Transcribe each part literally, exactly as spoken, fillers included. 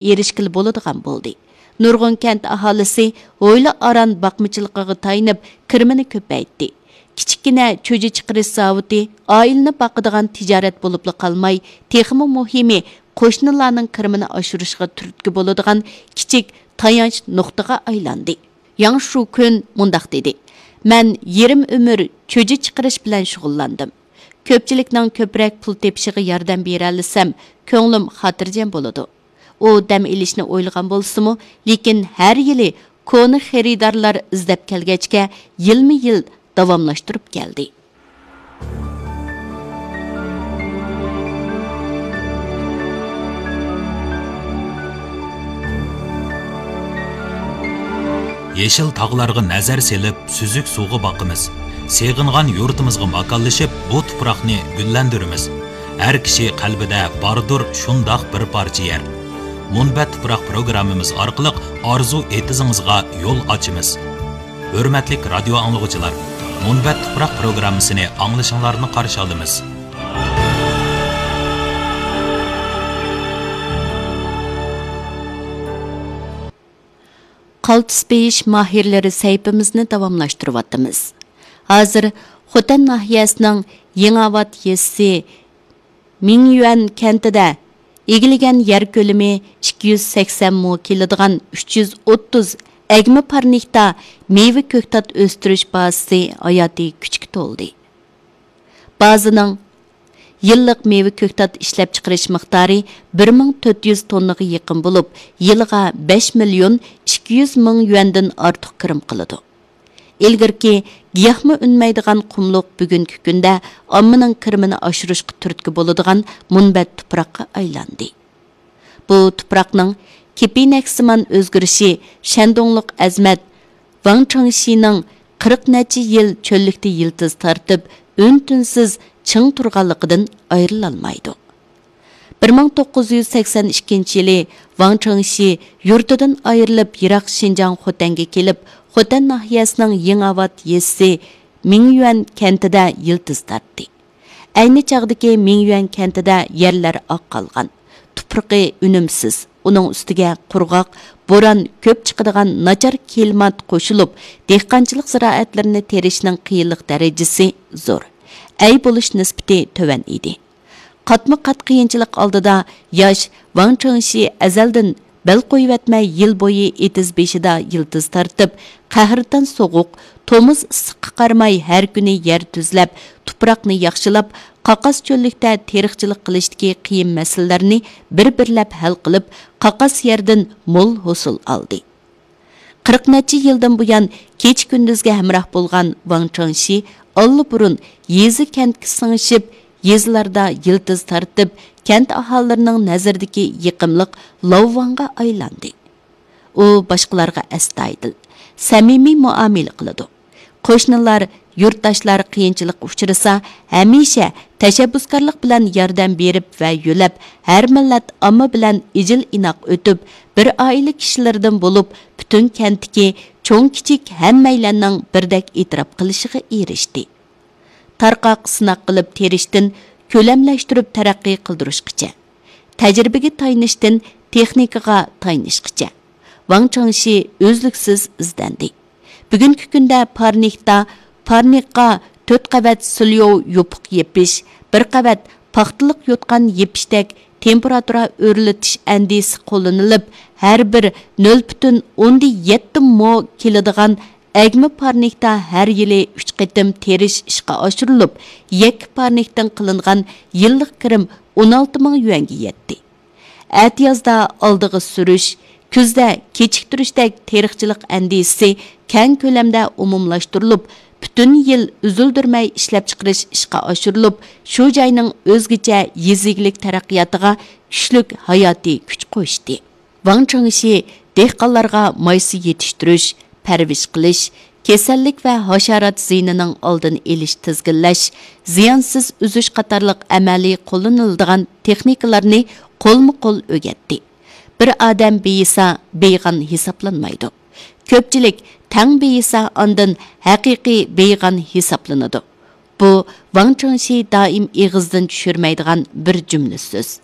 ئېرىشكىلى بولىدىغان بولدى. نۇرغۇن كەنت ئاھالىسى ھويلا ئاران باقمىچىلىقىغا تايىنىپ، كىرىمىنى كۆپەيتتى. كىچىككىنە چۈجە چىقىرىش زاۋۇتى ئائىلىنى باقىدىغان تىجارەت بولۇپلا قالماي، تېخىمۇ مۇھىمى، قوشنىلارنىڭ كىرىمىنى ئاشۇرۇشىغا تۈرتكە بولىدىغان كىچىك تايانچ نۇقتىغا ئايلاندى. ياڭ شۇكۈن مۇنداق دېدى: مەن يېرىم ئۆمۈر چۈجە چىقىرىش بىلەن شۇغۇللاندىم. كۆپچىلىكنىڭ كۆپرەك پۇل تېپىشىغا ياردەم بېرەلىسەم، كۆڭلۈم خاتىرجەم بولىدۇ. ئۇ دەم ئېلىشنى ئويلىغان بولسىمۇ، لېكىن ھەر يىلى كونا خېرىدارلار ئىزدەپ كەلگەچكە، يىلمۇ يىل داۋاملاشتۇرۇپ كەلدى. يېشىل تاغلارغا نەزەر سېلىپ، سۈزۈك سۇغا باقىمىز. سېغىنغان يۇرتىمىزغا ماكانلىشىپ، بۇ تۇپراقنى گۈللەندۈرىمىز. ھەر كىشى قەلبىدە باردۇر شۇنداق بىر پارچە يەر. مۇنبەت تۇپراق پروگراممىمىز ئارقىلىق ئارزۇ ئېتىزىڭىزغا يول ئاچىمىز. ھۆرمەتلىك رادىيو ئاڭلىغۇچىلار، مۇنبەت تۇپراق پروگراممىسىنى ئاڭلىشىڭلارنى قارشى ئالىمىز. قالتىس بېيىش ماھىرلىرى سەھىپىمىزنى داۋاملاشتۇرۇۋاتىمىز. ھازىر خوتەن ناھىيەسىنىڭ يېڭىئاۋات يېزىسى مىڭيۈەن كەنتىدە ئىگىلىگەن يەر كۆلىمى ئىككى يۈز سەكسەن مو كېلىدىغان ئۈچ يۈز ئوتتۇز ئەگمە پارنىكتا مېۋە كۆكتات ئۆستۈرۈش بازىسى ھاياتىي كۈچكە تولدى. بازىنىڭ يىللىق مېۋە كۆكتات ئىشلەپچىقىرىش مىقدارى بىر مىڭ تۆت يۈز توننىغا يېقىن بولۇپ، يىلىغا بەش مىليون ئىككى يۈز مىڭ يۈەندىن ئارتۇق كىرىم قىلىدۇ. ئىلگىرىكى گىياھمۇ ئۈنمەيدىغان قۇملۇق بۈگۈنكى كۈندە ئاممىنىڭ كىرىمىنى ئاشۇرۇشقا تۈرتكە بولىدىغان مۇنبەت تۇپراققا ئايلاندى. بۇ تۇپراقنىڭ كېپىنەكسىمان ئۆزگىرىشى شەندۇڭلۇق ئەزىمەت ۋاڭ چېڭشىنىڭ قىرىق نەچچە يىل چۆللۈكتە يىلتىز تارتىپ، ئۈن-تىنسىز چىڭ تۇرغانلىقىدىن ئايرىلالمايدۇ. بىر مىڭ توققۇز يۈز سەكسەن ئىككىنچى يىلى ۋاڭ چېڭشى يۇرتىدىن ئايرىلىپ، يىراق شىنجاڭ خوتەنگە كېلىپ، خوتەن ناھىيەسىنىڭ يېڭىئاۋات يېزىسى مىڭيۈەن كەنتىدە يىلتىز تارتتى. ئەينى چاغدىكى مىڭيۈەن كەنتىدە يەرلەر ئاق قالغان، تۇپرىقى ئۈنۈمسىز، ئۇنىڭ ئۈستىگە قۇرغاق، بوران كۆپ چىقىدىغان ناچار كىلىمات قوشۇلۇپ، دېھقانچىلىق زىرائەتلىرىنى تېرىشنىڭ قىيىنلىق دەرىجىسى زور، ئەي بولۇش نىسبىتى تۆۋەن ئىدى. قاتمۇ قات قىيىنچىلىق ئالدىدا ياش ۋاڭ چېڭشى ئەزەلدىن بەل قويۇۋەتمەي، يىل بويى ئېتىز بېشىدا يىلتىز تارتىپ، قەھرىتان سوغۇق، تومۇز ئىسسىققا قارىماي، ھەر كۈنى يەر تۈزلەپ، تۇپراقنى ياخشىلاپ، قاقاس چۆللۈكتە تېرىقچىلىق قىلىشتىكى قىيىن مەسىلىلەرنى بىر-بىرلەپ ھەل قىلىپ، قاقاس يەردىن مول ھوسۇل ئالدى. قىرىق نەچچە يىلدىن بۇيان كېچە-كۈندۈزگە ھەمراھ بولغان ۋاڭ چېڭشى ئاللىبۇرۇن يېزا-كەنتكە سىڭىشىپ، يېزىلاردا يىلتىز تارتىپ، كەنت ئاھالىلىرىنىڭ نەزىرىدىكى يېقىملىق لاۋۋاڭغا ئايلاندى. ئۇ باشقىلارغا ئەستايىدىل، سەمىمىي مۇئامىلە قىلىدۇ. قوشنىلار، يۇرتداشلار قىيىنچىلىققا ئۇچرىسا، ھەمىشە تەشەببۇسكارلىق بىلەن ياردەم بېرىپ ۋە يۆلەپ، ھەر مىللەت ئامما بىلەن ئىجىل-ئىناق ئۆتۈپ، بىر ئائىلە كىشىلىرىدىن بولۇپ، پۈتۈن كەنتتىكى چوڭ-كىچىك ھەممەيلەننىڭ بىردەك ئېتىراپ قىلىشىغا ئېرىشتى. تارقاق سىناق قىلىپ تېرىشتىن كۆلەملەشتۈرۈپ تەرەققىي قىلدۇرۇشقىچە، تەجرىبىگە تايىنىشتىن تېخنىكىغا تايىنىشقىچە، ۋاڭ چېڭشى ئۈزلۈكسىز ئىزدەندى. بۈگۈنكى كۈندە پارنىكتا، پارنىكقا تۆت قەۋەت سىليوۋ يوپۇق يېپىش، بىر قەۋەت پاختىلىق يوتقان يېپىشتەك تېمپېراتۇرا ئۆرلىتىش ئەندىزىسى قوللىنىلىپ، ھەر بىر نۆل پۈتۈن ئوندىن يەتتە مو كېلىدىغان ئەگمە پارنىكتا ھەر يىلى ئۈچ قېتىم تېرىش ئىشقا ئاشۇرۇلۇپ، يەككە پارنىكتىن قىلىنغان يىللىق كىرىم ئون ئالتە مىڭ يۈەنگە يەتتى. ئەتىيازدا ئالدىغا سۈرۈش، كۈزدە كېچىكتۈرۈشتەك تېرىقچىلىق ئەندىزىسى كەڭ كۆلەمدە ئومۇملاشتۇرۇلۇپ، پۈتۈن يىل ئۈزۈلدۈرمەي ئىشلەپچىقىرىش ئىشقا ئاشۇرۇلۇپ، شۇ جاينىڭ ئۆزگىچە يېزا ئىگىلىك تەرەققىياتىغا كۈچلۈك ھاياتىي كۈچ قوشتى. ۋاڭ چېڭشى دېھقانلارغا مايسا يېتىشتۈرۈش، پەرۋىش قىلىش، كېسەللىك ۋە ھاشارات زىيىنىنىڭ ئالدىنى ئېلىش، تىزگىنلەش، زىيانسىز ئۈزۈش قاتارلىق ئەمەلىي قوللىنىلىدىغان تېخنىكىلارنى قولمۇ قول ئۆگەتتى. بىر ئادەم بېيىسا، بېيىغان ھېسابلانمايدۇ. كۆپچىلىك تەڭ بېيىسا، ئاندىن ھەقىقىي بېيىغان ھېسابلىنىدۇ. بۇ ۋاڭ چېڭشى دائىم ئېغىزدىن چۈشۈرمەيدىغان بىر جۈملە سۆز.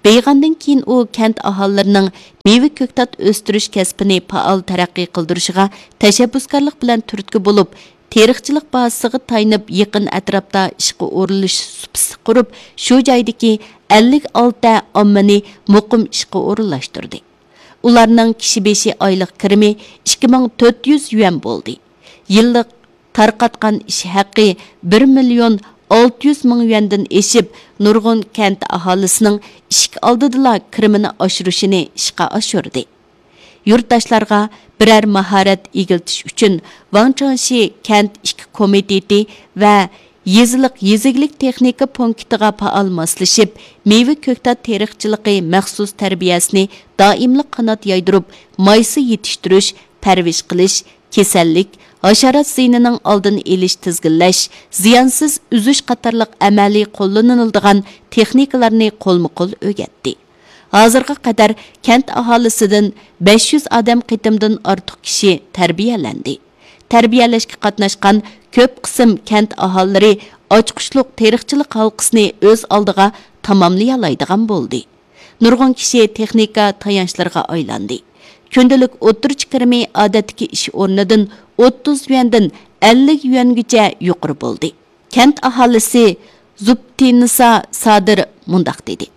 بېيىغاندىن كېيىن ئۇ كەنت ئاھالىلىرىنىڭ مېۋە كۆكتات ئۆستۈرۈش كەسپىنى پائال تەرەققىي قىلدۇرۇشىغا تەشەببۇسكارلىق بىلەن تۈرتكە بولۇپ، تېرىقچىلىق بازىسىغا تايىنىپ، يېقىن ئەتراپتا ئىشقا ئورۇنلىشىش سۇپىسى قۇرۇپ، شۇ جايدىكى ئەللىك ئالتە ئاممىنى مۇقىم ئىشقا ئورۇنلاشتۇردى. ئۇلارنىڭ كىشى بېشى ئايلىق كىرىمى ئىككى مىڭ تۆت يۈز يۈەن بولدى. يىللىق تارقاتقان ئىش ھەققى بىر مىليون ئالتە يۈز مىڭ يۈەندىن ئېشىپ، نۇرغۇن كەنت ئاھالىسىنىڭ ئىشىك ئالدىدىلا كىرىمىنى ئاشۇرۇشىنى ئىشقا ئاشۇردى. يۇرتداشلارغا بىرەر ماھارەت ئىگىلىتىش ئۈچۈن، ۋاڭ چاڭشى كەنت ئىككى كومىتېتى ۋە يېزىلىق يېزا ئىگىلىك تېخنىكا پونكىتىغا پائال ماسلىشىپ، مېۋە كۆكتات تېرىقچىلىقى مەخسۇس تەربىيەسىنى دائىملىق قانات يايدۇرۇپ، مايسا يېتىشتۈرۈش، پەرۋىش قىلىش، كېسەللىك، ھاشارات زىيىنىنىڭ ئالدىنى ئېلىش، تىزگىنلەش، زىيانسىز ئۈزۈش قاتارلىق ئەمەلىي قوللىنىلىدىغان تېخنىكىلارنى قولمۇ-قول ئۆگەتتى. ھازىرغا قەدەر كەنت ئاھالىسىدىن بەش يۈز ئادەم قېتىمدىن ئارتۇق كىشى تەربىيەلەندى. تەربىيەلەشكە قاتناشقان كۆپ قىسىم كەنت ئاھالىلىرى ئاچقۇچلۇق تېرىقچىلىق ھالقىسىنى ئۆز ئالدىغا تاماملىيالايدىغان بولدى. نۇرغۇن كىشى تېخنىكا تايانچلىرىغا ئايلاندى. كۈندىلىك ئوتتۇرىچە كىرىمى ئادەتتىكى ئىش ئورنىدىن ئوتتۇز يۈەندىن ئەللىك يۈەنگىچە يۇقىرى بولدى. كەنت ئاھالىسى زۇبتىنىسا سادىر مۇنداق دېدى: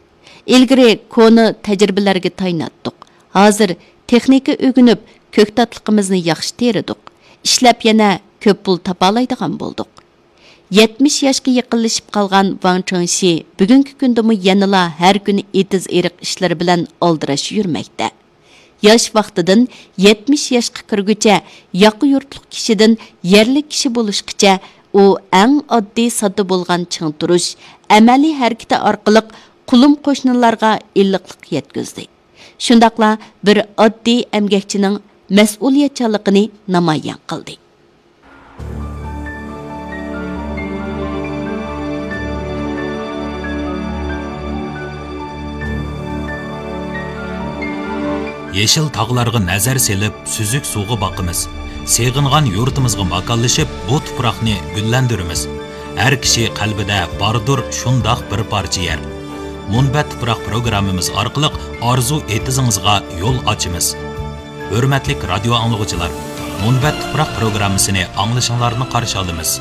«ئىلگىرى كونا تەجرىبىلەرگە تايىناتتۇق. ھازىر تېخنىكا ئۆگىنىپ، كۆكتاتلىقىمىزنى ياخشى تېرىدۇق. ئىشلەپ يەنە كۆپ پۇل تاپالايدىغان بولدۇق.» يەتمىش ياشقا يېقىنلىشىپ قالغان ۋاڭ چېڭشى بۈگۈنكى كۈندىمۇ يەنىلا ھەر كۈنى ئېتىز-ئېرىق ئىشلىرى بىلەن ئالدىراش يۈرمەكتە. ياش ۋاقتىدىن يەتمىش ياشقا كىرگۈچە ياقا يۇرتلۇق كىشىدىن يەرلىك كىشى بولۇشقىچە، ئۇ ئەڭ ئاددىي-ساددا بولغان چىڭ تۇرۇش، ئەمەلىي ھەرىكىتى ئارقىلىق قولۇم قوشنىلارغا ئىللىقلىق يەتكۈزدى. شۇنداقلا بىر ئاددىي ئەمگەكچىنىڭ مەسئۇلىيەتچانلىقىنى نامايان قىلدى. يېشىل تاغلارغا نەزەر سېلىپ، سۈزۈك سۇغا باقىمىز. سېغىنغان يۇرتىمىزغا ماكانلىشىپ، بۇ تۇپراقنى گۈللەندۈرىمىز. ھەر كىشى قەلبىدە باردۇر شۇنداق بىر پارچە يەر. مۇنبەت تۇپراق پروگراممىمىز ئارقىلىق ئارزۇ ئېتىزىڭىزغا يول ئاچىمىز. ھۆرمەتلىك رادىيو ئاڭلىغۇچىلار، مۇنبەت تۇپراق پروگراممىسىنى ئاڭلىشىڭلارنى قارشى ئالىمىز.